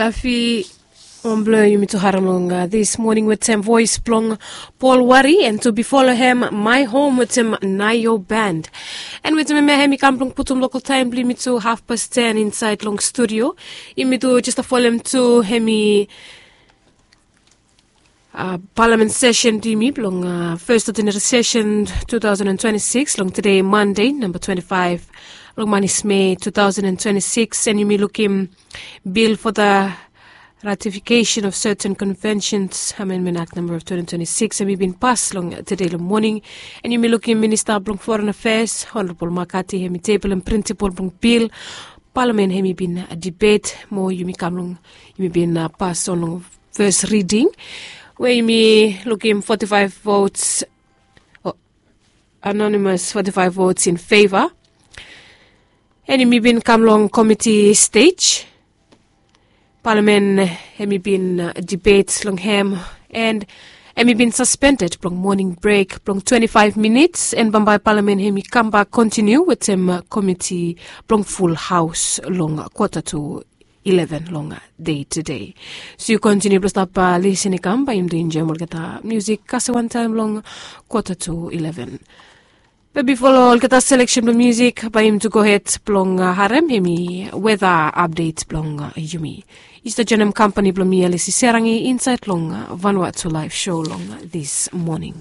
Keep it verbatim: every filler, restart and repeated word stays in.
Afi, wan blong yumi tu harem long dis moning wetem voes blong Paul Wari, and tu bifo long hem My Home wetem Naio Band. And wetem hemia hem i kam blong putum lokal taem blong yumi tu hafpas ten insaed long studio. Yumi tu jes folem tu hemi Palamen sesen blong yumi blong fes ordinari sesen two thousand and twenty-six long tede Mande namba twenty-five long manis Me two thousand and twenty-six, and yumi lukim bil for the ratification of certain conventions, Amendment Act number of twenty twenty-six, hem i bin pas long tede long moning. And yumi lukim minista blong foreign affairs, Honorable Makati, hem i tebelem principle blong bil. Palamen hem i bin debate mo yumi kam long, yumi bin pas on long first reading, we yumi lukim forty-five votes, anonymous forty-five votes in favor. And yumi bin kam long committee stage. Palamen hem i bin debate long hem, and hem i bin suspended blong moning brek blong twenty-five minutes, and bambae palamen hem i kambak kontiniu wetem committee blong full haos long kwata tu eleven long dei tede. So yu kontiniu blong stap lisin i kam, bae yumi tu enjoem olgeta musik kasem wantaem long kwata tu eleven. Be bifo long olgeta seleksen blong musik, bae yumi tu gohed blong harem hemi weta apdet blong yumi. Yu stap joenem kampani blong mi, Alisi Serangi, insaed long Vanuatu Laef Sou long dis moning.